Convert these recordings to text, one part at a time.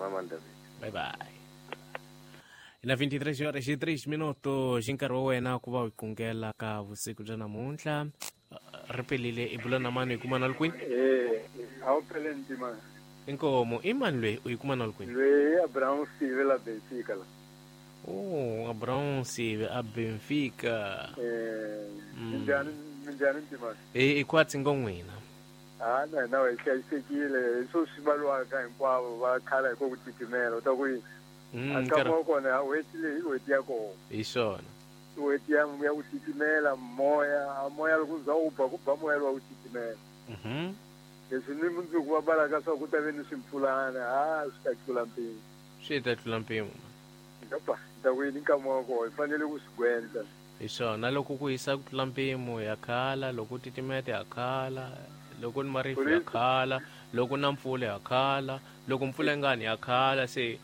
Mama David. Bye bye. Na 23 horas e 3 minutos, nkarhi wa wena ku va u qungela ka vusiku bya namuntlha. Ri pelile i bula na mani u yi kuma na kwini? A wu phele ntima. Inkomo, i mani loyi u yi kuma na kwini? Loyi Abraham Sive la Benfica la. Oh, Abraham Sive a Benfica. Minjhani minjhani ntima? I khwatsi ngo n'wina. Ha na hina hi hlayisekile hi swo swi valiwaka hinkwavo va khala hi ko ku titimela u ta ku yini? A nkama wa kona ha n'hweti leyi i n'hweti ya kona. Hi swona. I n'hweti ya ya ku titimela moya, a moya loko wu za wu ba ku ba moya lowa ku titimela. Leswi ni mundzuku va balaka swa ku ta ve ni swimpfulana ha swi ta tlula mpimo. Swi ta tlula mpimo. Ngapa ta ku yini nkama wa kona hi fanele ku swi gwenta. Hi swona loko ku hisa ku tlula mpimo ya khala, loko ku titimeta ya khala, loko ni marifu ya khala, loko na mpfula ya khala, loko mpfula yi nga ni ya khala se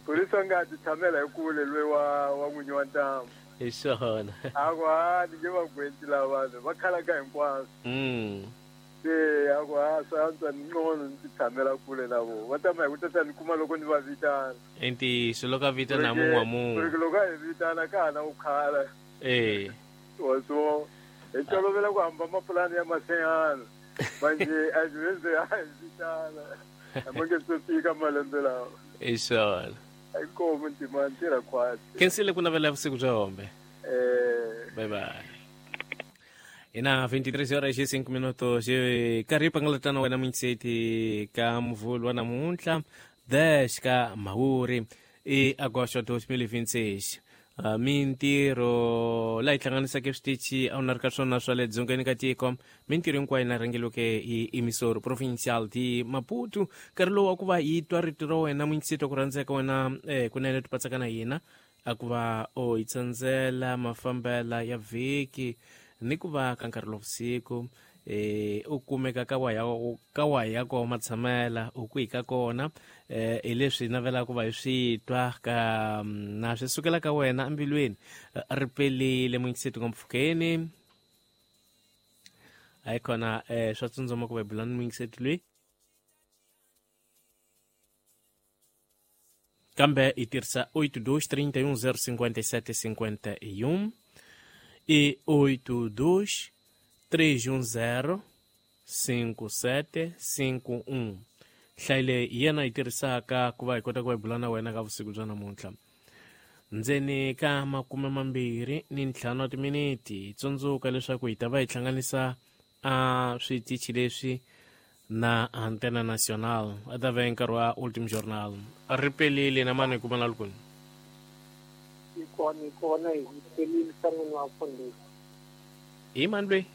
Phorisa nga ti tshamela hi kule loyi wa wa n'winyi wa ntamu. Hi swona. A ku ha ni nge va gwenti lava vanhu va khalaka hinkwaswo. Se a ku ha swa antswa ni ngcono ni ti tshamela kule na vona. Va tama hi ku tata ni kuma loko ni va vitana. I ntiyiso loko a vitana mun'we wa mun'we. Ku ri loko a hi vitana ka ha na ku khala. Eh. Wa swo hi tolovela ku hamba mapulani ya maseyana. Manje a swi a hi vitana. A ma nge se fika malembe lawa. Hi swona. Inkomu ntima ntirha khwatsi. Khensile ku navela vusiku bya hombe. Eh. Bye bye. Ina 23 horas e 5 minutos karhi pangalatana wena munyiseti ka muvhulu wa namuntlha 10 ka mhawuri i agosto 2026. Mintirho laha yi hlanganisaka switichi a wu na ri ka swona swa le dzongeni ka tiko mintirho hinkwayo na rhangeliweke hi emisoro provincial di Maputo. Nkarhi lowu wa ku va yi twa rito ra wena munyiseti wa ku rhandzeka wena kunene tipatsaka na hina a ku va o yi tsandzela mafambela ya vhiki ni ku va ka nkarhi lowa vusiku u kumeka ka waya ka waya ko matshamela u kwihi ka kona hi leswi navelaka ku va hi swi twa ka na swi sukela ka wena embilwini ri pelile munyikiseti ngompfukeni hayi khona swa tsundzuma ku va hi bula ni munyikiseti loyi kambe hi tirhisa 82 31 057 51 i 82 310 57 51. Nhlayo leyi hi yena yi tirhisaka ku va hi kota ku va hi bula na wena ka vusiku bya namuntlha. Ndzeni ka 25 wa timiniti hi tsundzuka leswaku hi ta va hi hlanganisa a switichi leswi na Antena Nacional a ta va nkarhi wa Ultim Journal. Ri pelile na mani hi kuma na lukuni. Yi kona yi kona hi pelile san'wini wa mfundhisi. Hi mani loyi?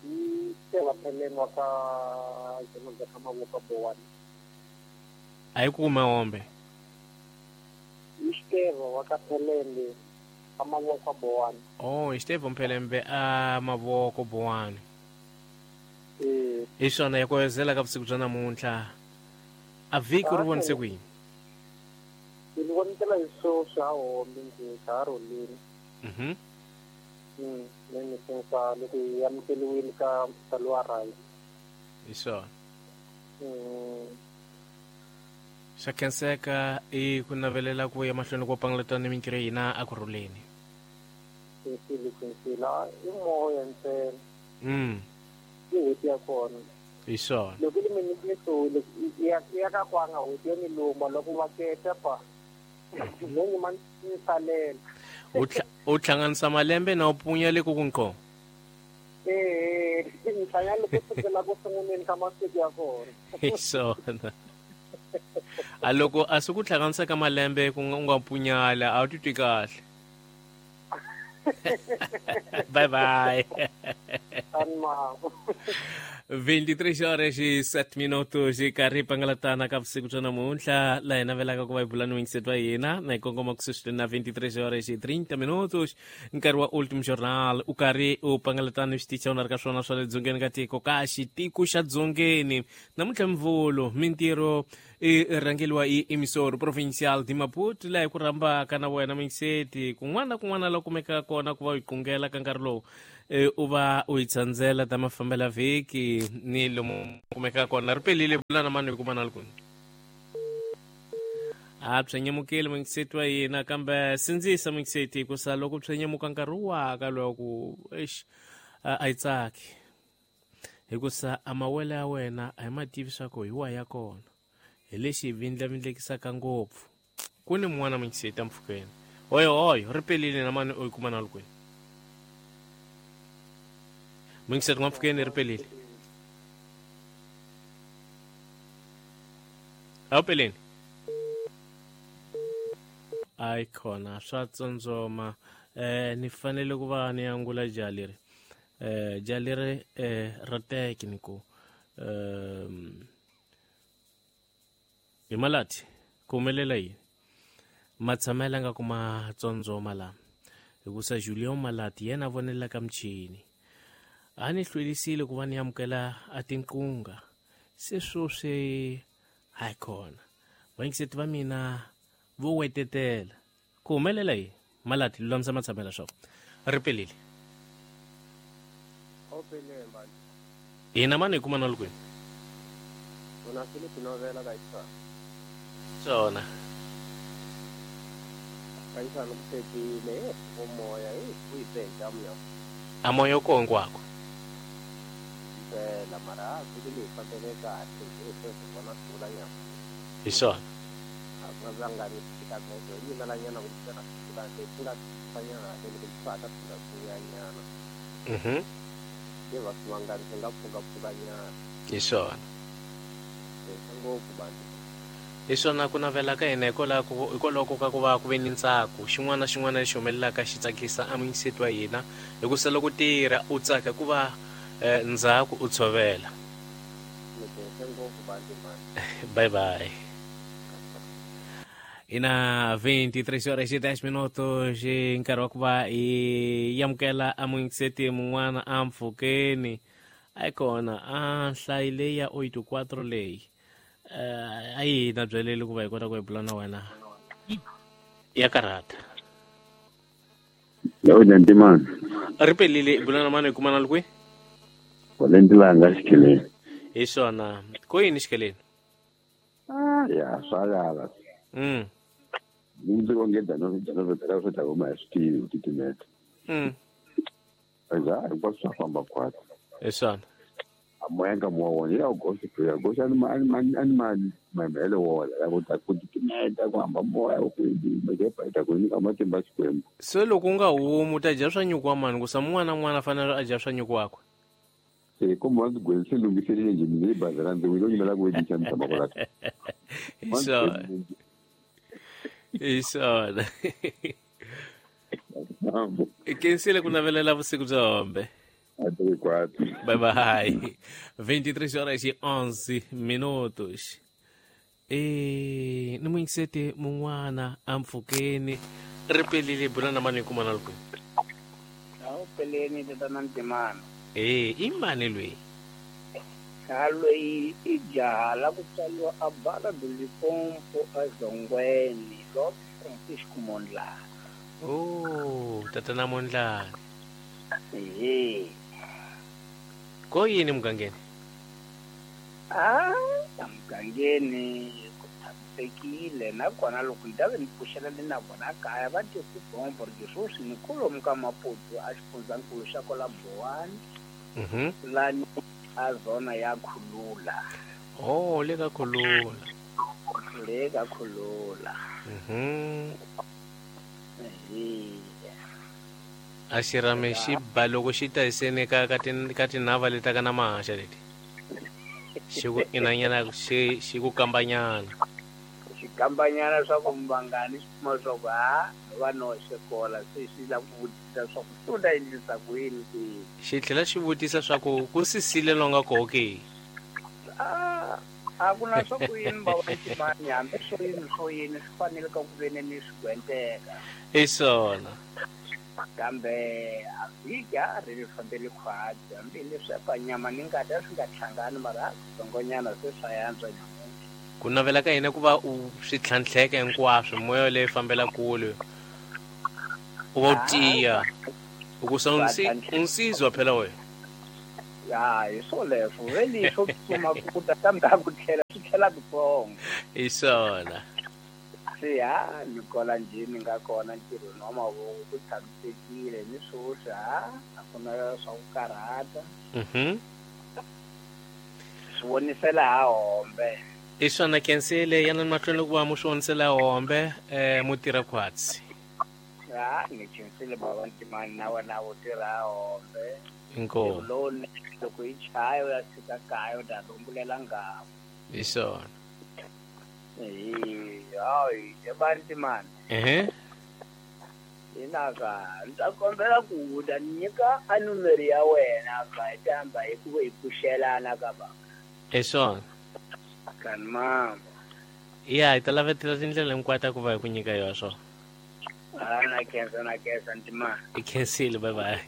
Hi Stella Pheleni wa ka Jemodza ka Mavoko Bowani. A hi ku kuma hombe. Hi Steva wa ka Phelembe ka Mavoko Bowani. Oh, hi Steva Mphelembe a Mavoko Bowani. Eh. Hi swona ya koyozela ka vusiku bya namuntlha. A vhiki ri vonise ku yini? Ni vonetela hi swo swa hombe nje ka ha rholini. Ni khensa loko hi amukeliwile ka mphikizano wa rugby. Hi swona. Xa khenseka i ku navelela ku ya mahlweni ko pangalata ni mintirho ya hina a ku rhuleni. Khensile khensile i moya ntsena. I n'hweti ya kona. Hi swona. Loko i mi ni hlule ya ya ka kwanga n'hweti yo ni luma loko va keta pa. No ni ma ni salela. U u hlanganisa malembe na u punya le ku ku nqo. Eh, ni hlangana ku sukela ku sunguleni ka masiku ya kona. Hi swona. A loko a swi ku hlanganisa ka malembe ku nga u nga punyala a wu titwi kahle. Bye bye. 23 horas e 7 minutos hi karhi pangalatana ka vusiku bya namuntlha laha hi navelaka ku va hi bula ni wingiseti wa hina na hi kongoma ku sweswi na 23 horas e 30 minutos nkarhi wa Ultim Journal u karhi u pangalatana ni switichi u na ri ka swona swa le dzongeni ka tiko ka xitiko xa dzongeni namuntlha mvulu mintirho i rhangeliwa hi emisoro provincial de Maputo laha hi ku rhambaka na wena mingiseti kun'wana na kun'wana la kumekaka kona ku va u yi qungela ka nkarhi lowu u va u yi tsandzela ta mafambela vhiki ni lomu kumekaka kona ri pelile bula na mani hi kuma na lukuni. A pyenyemukile mungiseti wa yena kambe sindzisa mungiseti hikusa loko pyenyemuka nkarhi waka loko eish a yi tsaki hikusa a mawele ya wena a hi mativi swa ku hi wa ya kona hi lexi vindlavindlekisaka ngopfu ku ni mun'wana mungiseti empfhukeni oyo oyo ri pelile na mani u yi kuma na lukwini mungiseti n'wampfhukeni ri pelile a wu peleni ayi khona swa tsondzoma ni fanele ku va ni angula jaha leri jaha leri ra tekniku hi malati ku humelela yini matshamela nga ku ma tsondzoma lama hikusa Julien Malati yena a vonelaka michini a ni hlwelisile ku va ni amukela a tinqunga se sweswi hayi khona vayingiseti va mina vo wetetela ku humelela yini Malati lulamisa matshamela swa ri pelile hina mani hi kuma na lukwini swona a moya ko hinkwako hi swona hi swona hi swona ku navela ka hina hikwalaho ka ku va ku ve ni ntsako xin'wana na xin'wana lexi humelelaka xi tsakisa emungiseti wa hina hikusa loko tirha u tsaka ku va ndzhaku u tshovela. Bye bye. Ina 23 horas e 10 minutos nkarhi wa ku va hi amukela emungiseti mun'wana a mpfhukeni a yi kona a nhlayi leyi ya 84 leyi a yi na byeleli ku va hi kota ku hi bula na wena ya karhata. Ntimana ri pelile i bula na mani hi kuma na lukwi Valentilanga xikeleni. Hi swona ko yini xikeleni? Ya swa yala. Ndzi onge dano swi ta huma hi swi tivi ku titimeta. Aza hinkwaswo swa famba khwatsi. Hi swona. A moya ka moya wona ya goxa ya goxa ni mani mamele wona ya ku ta ku titimeta ku hamba moya ku yi ku nyika matimba Xikwembu. Se loko u nga humi u ta dya swa nyuku wa mani ku sa mun'wana na mun'wana a fanele a dya swa nyuku wakwe. Se kumbe wa ndzi gwerise lunghiselele njhe ndzi yi bazela ndzi wile nyimela ku wedisa ni tshama kwala. Hi swona. Hi swona. Kensile ku navelela vusiku bya hombe. Bye bye. 23 horas e 11 minutos. Ni muyingiseti mun'wana a mpfhukeni ri pelile bula na mani hi kuma na lukweni. A wu peleni tatana Ntimana. I mani loyi? A loyi i jaha la ku tswariwa a Bala Limpopo a Zongweni Lord Francisco Mondlane. Oh, tatana Mondlane. Ehe. Ko yini mugangeni? A mugangeni ku tshamisekile nakona loko ni ta ve ni pfuxela ni na vona kaya va tisi bombo ri sweswi ni kolomu ka Maputo a xifundzankulu xa kwala Bowani. Lani a zona ya Khulula. Oh, le ka Khulula. Le ka Khulula. A xirhami xi ba loko xi ta hiseni ka ka tinhava leti ka na mahaxa leti. Xi ku inanyana xi ku kambanyana. Xi kambanyana swa ku mvangani xi kuma swa ku ha va noxe kola se xi la ku vutisa swa ku swi ta endlisa ku yini ke. Xi tlhela xi vutisa swa ku ku sisile longa koho ke. A ku na swa ku yini va wa Ntimani hambi swo yini swo yini swi fanele ka ku veni ni swi gwenteka. Hi swona. Kambe a vhiki a ri ri fambele khwatsi hambi leswi nyama ni ngati a swi nga hlangani mara a kutsongonyana se swa yantswa nyamuntlha. Ku navela ka hina ku va u swi tlhantlheka hinkwaswo moya leyi fambela kule u va u tiya u ku sa unsizwa phela wena. Ya hi swoleswo veli swo tsutsuma ku ta kambe a ku tlhela swi tlhela kutsongo. Hi swona. Se ha ni kola njhe ni nga kona ntirhweni wa mavoko ku tshamisekile ni swoswi ha a ku na swa ku karhata. Swi vonisela ha hombe. I swona khensile yana mahlweni loko va mu swi vonisela hombe mutirha khwatsi. Ha ni khensile baba Ntimani na wena u tirha hombe. Inkomu. Lowunene loko yi chaya u ya fika kaya u ta rumbulela nghamu. Hi swona. Hayi ebantimani. Hinaka ni ta kombela ku u ta nyika a numero ya wena ka hi ta hamba hi ku hi pfuxelana ka ba. Hi swona. Kani mama. Ya hi ta lavetela tindlela hinkwato ta ku va hi ku nyika yona swona. Ha na khensa Ntimani. I khensile, bye bye.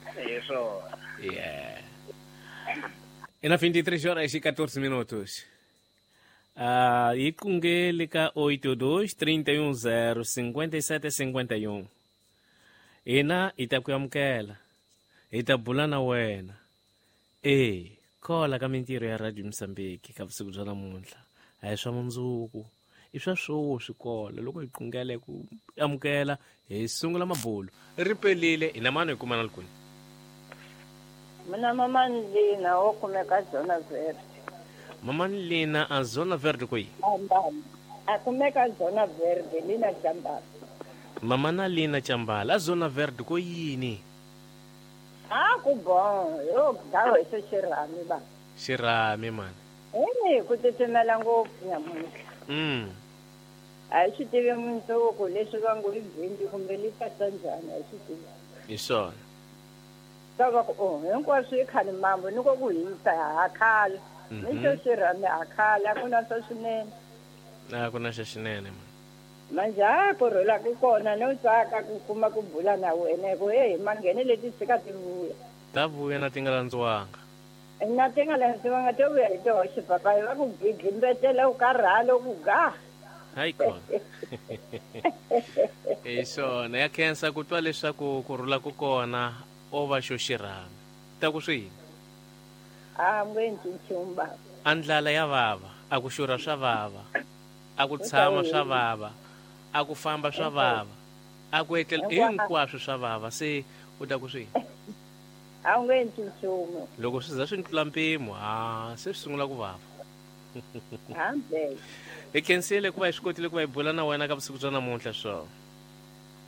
Hi swona. Yeah. Ina 23 horas e 14 minutos. Yi qungele ka 82 310 57 51. Hina hi ta ku amukela, hi ta bula na wena. Kola ka mintirho ya Radio Mozambique ka vusiku bya namuntlha. A hi swa mundzuku, i swa swoswi kola. Loko hi qungele ku amukela hi sungula mabulo. Ri pelile hi na mani hi kumana kwini? Mina mamani Lina wo kumeka Zona Verde. Mamani Lina a Zona Verde kwihi? A kumeka Zona Verde, Lina Chambala. Mamana Lina Chambala a Zona Verde ko yini? A ku bon, yo dawo xo xirhami ba. Xirhami mani. Ku titimela ngopfu nyamuntlha. A hi swi tivi mundzuku leswi va ngo i bindi kumbe li tata njhani, a hi swi tivi. Hi swona. Ta va ku hinkwaswo i khale mambo ni ko ku hisa ha khala. Ni xo xirhami ha khala, a ku na swa swinene. A ku na xa xinene mani. Manje ha ku rhula ku kona no tsaka ku kuma ku bula na wena ku hey manghene leti tshika ti vuya. Ta vuya na ti nga landziwanga. Na ti nga landziwanga to vuya hi toxe papayi va ku gigimbetela u karhala ku ga. Hayi kona. Hi swona ya khensa ku twa leswaku ku rhula ku kona o va xo xirhami. Ta ku swi yini? A nge nchumu baba. A ndlala ya vava, a ku xurha swa vava, a ku tshama swa vava, a ku famba swa vava, a ku etlela hinkwaswo swa vava. Se u ta ku swi yini? A nge nchumu. Loko swi za swi tlula mpimo, ha se swi sungula ku vava. Hambe. Hi khensile ku va hi swi kotile ku va hi bula na wena ka vusiku bya namuntlha swona.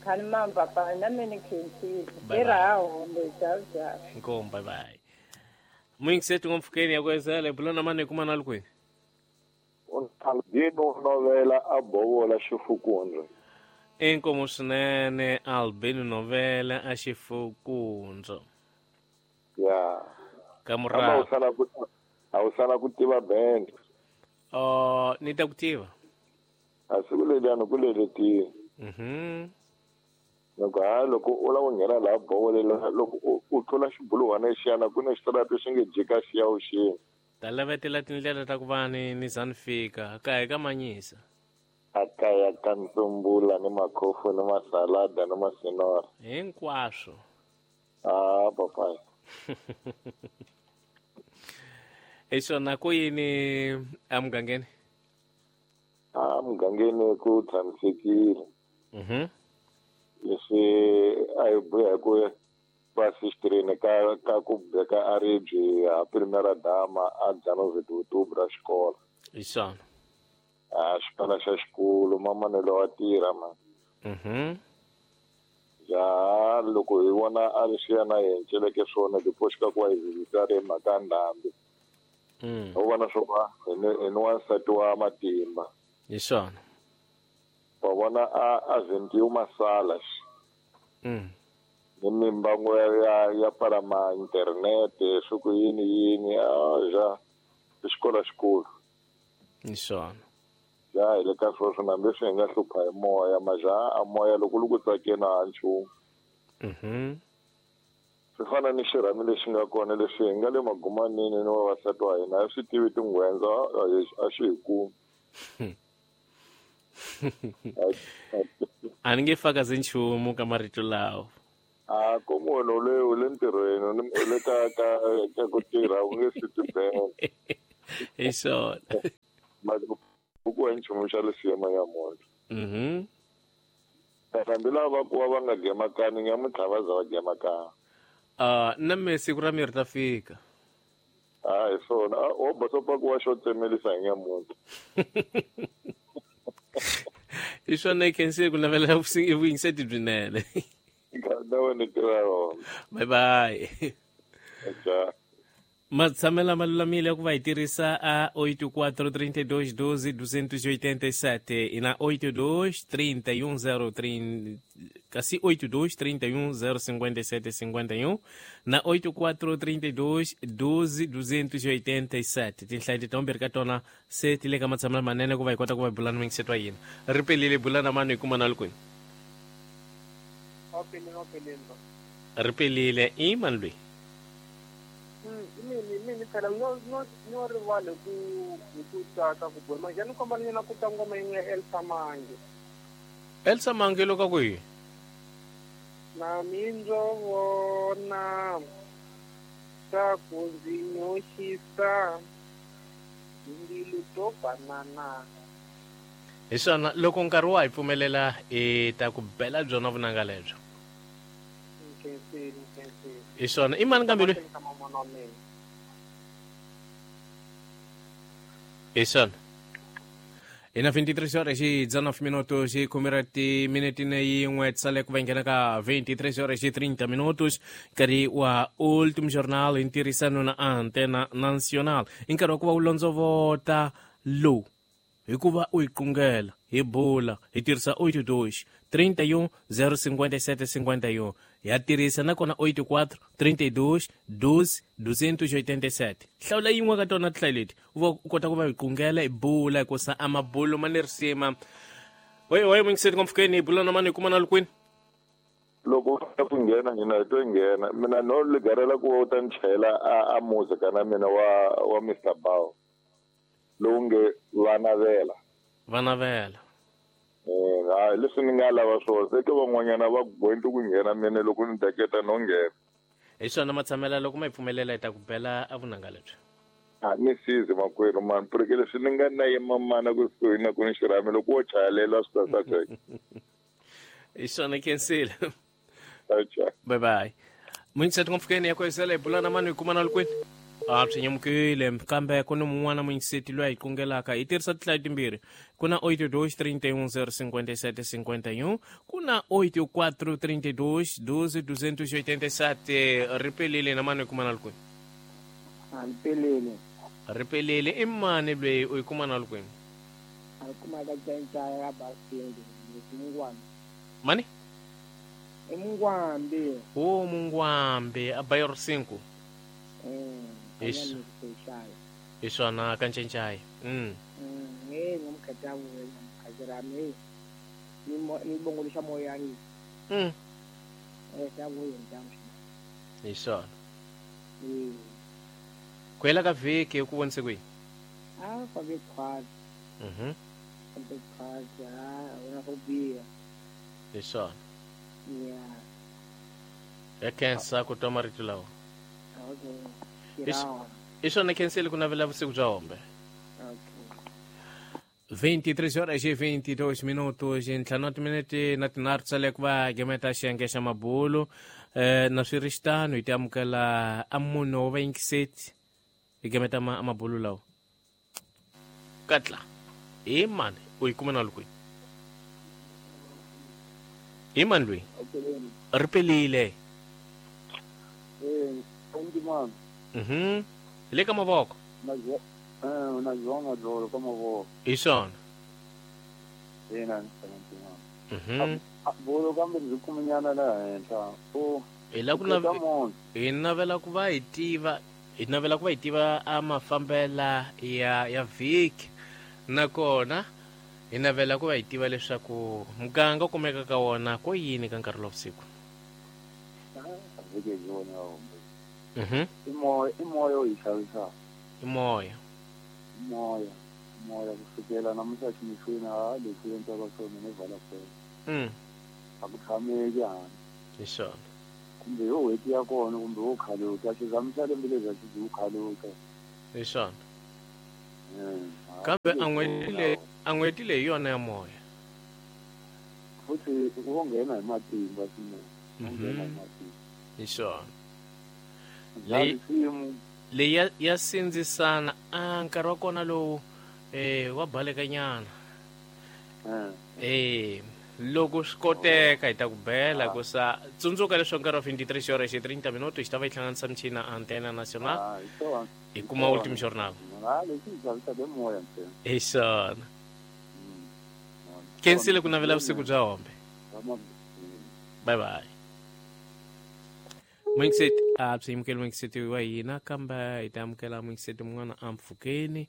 Khani mama papa na mina khensile. Tirha ha hombe ciao ciao. Inkomu, bye bye. Muyingiseti ngompfhukeni ya ku ezela hi bula na mani hi kumana li kwini? Albino Novela a Bovola Xifukundzu. Inkomu swinene Albino Novela a Xifukundzu. Ya. Ka murahu. A wu sala ku tiva band. Ni ta ku tiva. A siku leriya ni ku leletile. Loko ha loko u lava ku nghena laha Bovolela loko u tlula xibuluhwana lexiyana ku na xitarata xi nge jika xi ya vuxeni. Ta lavetela tindlela ta ku va ni za ni fika kaya ka manyisa. A kaya ka ntsumbula ni makhofu ni masalada ni masinora. Hinkwaswo. Ah papayi. Hi swona ku yini emugangeni? A mugangeni ku tshamisekile. Leswi a hi buya hi ku va xitirheni ka ku beka a ribye ha primera dama a Dzanove ra xikolo. Hi swona. A xikolo xa xikolo mamanelo wa tirha ma. Ja loko hi vona a ri swi yana hi enceleke swona tipoxika ku va hi vhizita ri mhaka ya ndhambi. U vona swo va hi ni wansati wa matimba. Hi swona. Wa vona a vhintiwa masala. Ni mimbango ya pfala ma internete swi ku yini yini a ja xikolo xikulu. Hi swona. Ja hi le ka sweswo nambe swi hi nga hlupha hi moya maja a moya loko lu ku tsakeni a nchumu. Swi fana ni xirhami lexi nga kona leswi hi nga le magumanini ni vavasati wa hina a swi tivi tinghwendza a xi hi kumi. A ni nge fakazi nchumu ka marito lawa. A ko munhu u le ntirhweni u le ka ku tirha u nge swi tibela. Hi swona. Ku wa nchumu xa lesiyema ya munhu. Hambi lava va ku va nga gemakani nyamuntlha va za va gemakana. Na me siku ra mi ri ta fika. Hi swona wo basopa ku wa xo tsemelisa hi nyamuntlha. I swona i khensile ku navela vuyingiseti byinene. Bye bye. Matshamela malulamile ku va hi tirhisa a 84 32 12 287 i na 82 31 03 kasi 82 31 057 51 na 84 32 12 287 tinhlayo leti timbirhi ka tona se ti le ka matshamela manene ku va hi kota ku va hi bulana mingisetwa yini ri pelile bulana mani hi kuma na likwini ri pelile i mani lweyi mini phela no rivale ku hi ku tsaka ku boha manje ni komba ni na ku twa ngoma yin'we ya Elsa Mange. Elsa Mange loko ku yi na mindzo vona swa ku ndzi nyoxisa mbilu to banana. Hi swona loko nkarhi wa hi pfumelela hi ta ku bela byona vunanga lebyo. Hi swona i mani kambe loyi? Hi swona hi na 23 horas e 19 minutos e khumira timinete na yin'we tisale ku va nghena ka 23 horas e 30 minutos nkarhi wa Último Jornal hi ntirhisano na Antena Nacional i nkarhi wa ku va u londzovota lowu hikuva u yi qungela hi bula hi tirhisa 82 31 057 51 ya tirhisa nakona 84 32 12 287 hlawula yin'we ka tona tinhlayo leti u va u kota ku va hi qungela hi bula hikusa a mabulo ma ni risima. Oye mingiseni kompfukeni hi bula na mani hi kuma na likwini loko u fika ku nghena hina hi to nghena mina no ligarela ku u ta ni chayela a muzika na mina wa Mr Bao lowu nge vanavela vanavela. Leswi ni nga lava swona se ke van'wanyana va gointi ku nghena mina loko ni daketa no nghena. Hi swona matshamela loko ma hi pfumelela hi ta ku bela a vunanga lebyi. A ni sizi makwerhu mani porque leswi ni nga na yima mana kusuhi na ku ni xirhami loko wo chayelela swi ta saseka. Hi swona khensile. Bye bye. Munyiseti ngopfukeni ya kwesela hi bula na mani hi kuma na likwini. A swi nyamukile kambe ku ni mun'wana munyiseti loyi a hi qungelaka hi tirhisa tinhlayo timbirhi ku na 82 31 057 51 ku na 84 32 12 287 ri pelile na mani hi kuma na likwini. A ri pelile. Ri pelile i mani loyi u yi kuma na likwini? A yi kuma ka Cancaya ka Basindi Mungwambi. Mani? I Mungwambi. O Mungwambi a bairro 5. Hi swona ka Ncencaya. Ngomkhetha mkhajirami ni bongo moyani. Hi swona. Ku hela ka vhiki ku vonise kwihi? A fambe khwatsi. Fambe khwatsi, a wona swo biha. Hi swona. Yeah. Ya khensa ku twa marito lawa. Okay. I swona khensile ku navela vusiku bya hombe. Okay. 23 horas e 22 minutos ntlhanu wa timinete na tinharhu tsale ku va gemeta xiyenge xa mabulu na swi ri xitano hi ti amukela a munhu wa vayingiseti hi gemeta mabulu lawa katla hi mani u yi kuma na likwini hi mani loyi ri pelile. Hi le ka mavoko. Na João Dolo ka mavoko. Hi swona. Ina bolo kambe ndzi kuminyana laha henhla. Hi la ku hi navela ku va hi tiva hi navela ku va hi tiva a mafambela ya vhiki nakona hi navela ku va hi tiva leswaku muganga u kumeka ka wona ko yini ka nkarhi lowa vusiku. Vhiki hi wona i moya i moya u hi xavisaka. I moya. Moya moya kusukela namuntlha ximixweni a leswi endlaka swona ni vala kwena. A ku tshameki handle. Hi swona. Kumbe yo n'hweti ya kona kumbe wo khaluta xizamisa lembe leri xi byi khaluta. Hi swona. Kambe a n'hweti leyi yona ya moya. Futhi wo nghena hi matimba swinene. Nghena hi matimba. Hi swona. Leyi ya sindzisana a nkarhi wa kona lowu wa balekanyana. Loko swi koteka hi ta ku bela ku sa tsundzuka leswaku nkarhi wa 23 horas e 30 minutos xi ta va yi hlanganisa michina Antena Nacional. Hi kuma Último Jornal. Hi swona. Khensile ku navela vusiku bya hombe. Bye bye. Mwingiseti a byi amukeli mwingiseti wa hina kambe hi ta amukela mwingiseti mun'wana a mpfhukeni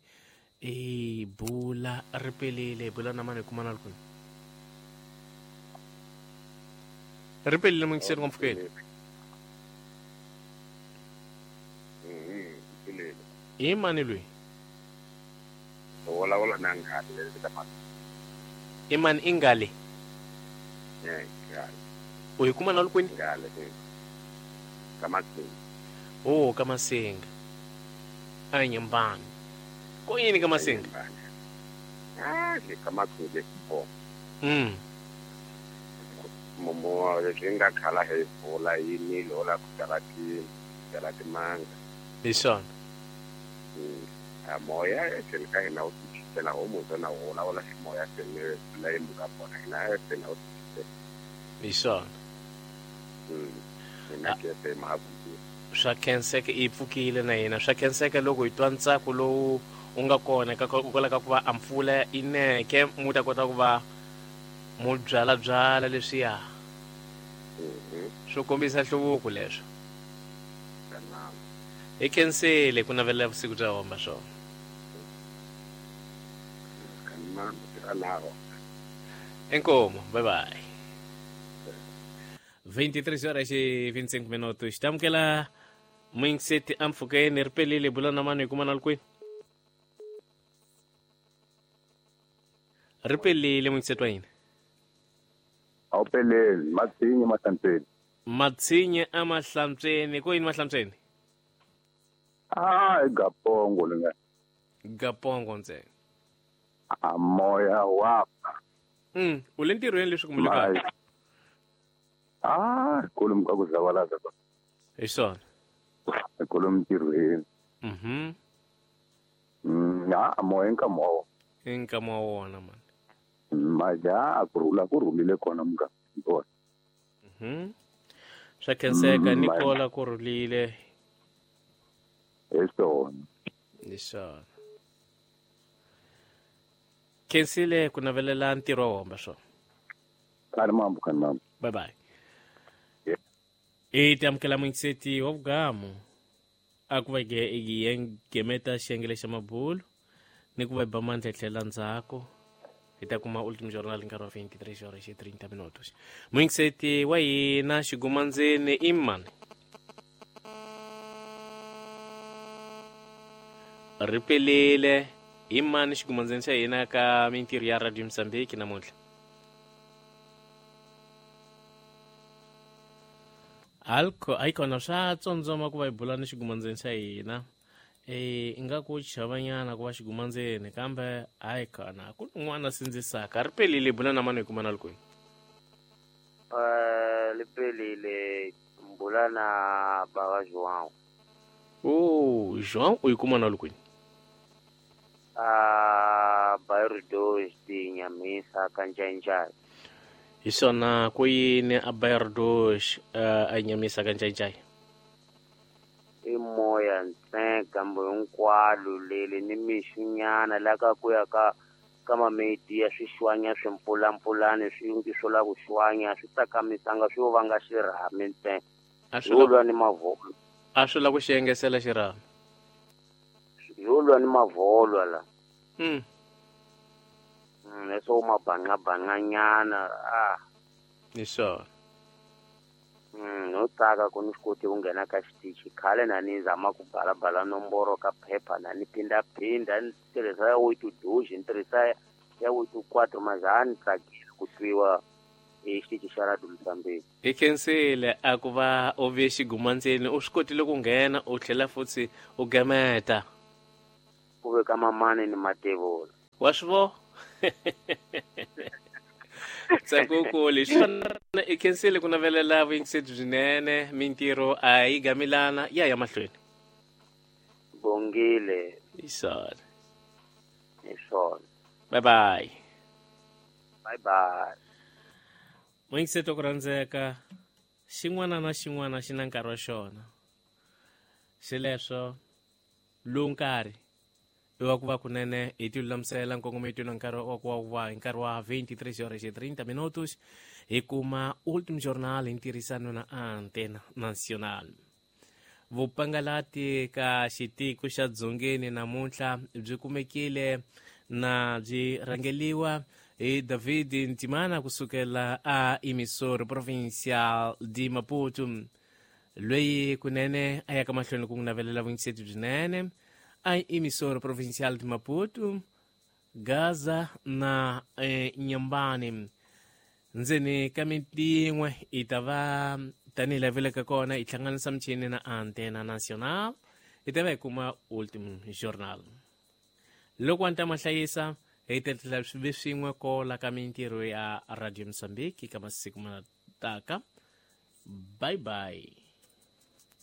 i bula ri pelile hi bula na mani hi kumana kwini. Ri pelile mwingiseti wa mpfhukeni. I mani loyi? Vulavula na ngale ka mani. I mani i ngale? Ngale. U hi kuma na kwini? Ngale. Ka Masinga. Oh, ka Masinga. A Nyambani. Ko yini ka Masinga? Ah, ka Masinga bo. Mumo leswi nga khala hi pfula yi nilo la ku byala ti byala timanga. Hi swona. A moya etlhelo ka hina wu tichitela homu na wona wala ximoya sene la yi muka kona hina sene wu tichitela. Hi swona. Hina ke mahabu. Swa khenseka i pfukile na hina swa khenseka loko hi twa ntsako lowu u nga kona ka kwala ka ku va a mpfula i neke mu ta kota ku va mu byala byala leswiya. Swo kombisa nhluvuko leswo. Hi khensile ku navela vusiku bya homba swona. Inkomo, bye bye. 23 horas e 25 minutos. Tamukela mwingiseti a mpfhukeni ri pelile bula na mani hi kuma na kwini. Ri pelile mwingiseti wa hina. A wu peleli, Matsinye Mahlantsweni. Matsinye a Mahlantsweni, ko yini Mahlantsweni? Ah, i Gapongo linga. Gapongo ntsena. A moya wa. U le ntirhweni leswi kumbe le kaya? Ah, kolomu ka ku zavalaza ba. Hi swona. Kolomu ntirhweni. A moya nkama wa wona. Nkama wa wona man. Maja a ku rhula ku rhulile kona muka. Swa khenseka Nicola ku rhulile. Hi swona. Hi swona. Khensile ku navelela ntirho wa homba swona. Khani mambo, khani mambo. Bye bye. I tamukela mwingiseti wa vugamu a ku va hi gemeta xiyenge xa mabulu ni ku va hi ba mandla hi tlhela ndzhaku hi ta kuma Último Jornal nkarhi wa 23 horas e 30 minutos. Mwingiseti wa hina xigumandzeni i mani? Ri pelile i mani xigumandzeni xa hina ka mintirho ya Radio Mozambique namuntlha? Alco ayikona swa tsondzoma ku va hi bula ni xigumandzeni xa hina. Ingaku chavanyana ku va xigumandzeni kambe ayikona ku n'wana sindzisaka. Ri pelile bula na mani hi kuma na kwini? Li pelile bula na baba João. Oh, João u yi kuma na kwini? Bairro 2 de Inhamisa ka Njainjai. Hi swona ku yini a Bairro 2 a Inhamisa ka Njainjai? I moya ntsena kambe hinkwalo leli ni mixunyana la ka ku ya ka ka mameti ya swixwanya swimpfulampfulani swi swo la ku xwanya swi tsakamisanga swi yo vanga xirhami ntsena. Yo lwa ni mavolo. A swi la ku xi engesela xirhami. Yo lwa ni mavolwa la. Leswo mabanqabanqanyana a. Hi swona. No tsaka ku ni swi koti ku nghena ka xitichi khale na ni zama ku balabala nomboro ka phepha na ni phindaphinda ni tirhisa ya 82 ni tirhisa ya 84 maza ni tsakile ku twiwa hi xitichi xa Radio Mozambique. Hi khensile a ku va u ve xigumandzeni u swi kotile ku nghena u tlhela futhi u gameta. Ku veka mamani ni matevula. Wa swi vo? Tsakukulu swona i khensile ku navelela vuyingiseti byinene mintirho a yi gamilana ya ya mahlweni. Bongile. Hi swona. Hi swona. Bye bye. Bye bye. Muyingiseti ku rhandzeka xin'wana na xin'wana xi na nkarhi wa xona. Xileswo lowu nkarhi i wa ku va kunene hi ti lulamisela nkongometo na nkarhi wa ku va hi nkarhi wa 23:30 minutos hi kuma Ultim Journal hi ntirhisano na Antena Nacional. Vupangalati ka xitiko xa Dzongeni namuntlha byi kumekile na byi rhangeliwa hi David Ntimana kusukela a Emissora Provincial de Maputo, loyi kunene a yaka mahlweni ku n'wi navelela vuyingiseti byinene a Emissora Provincial de Maputo, Gaza na Nyambani. Ndzeni ka miti yin'we i ta va tanihi laha vileke kona hi hlanganisa michini na Antena Nacional hi ta va hi kuma Ultim Journal. Loko wa ta mahlayisa hi ta tlhela swi ve swin'we kola ka mintirho ya Radio Mozambique ka masiku ma taka. Bye bye.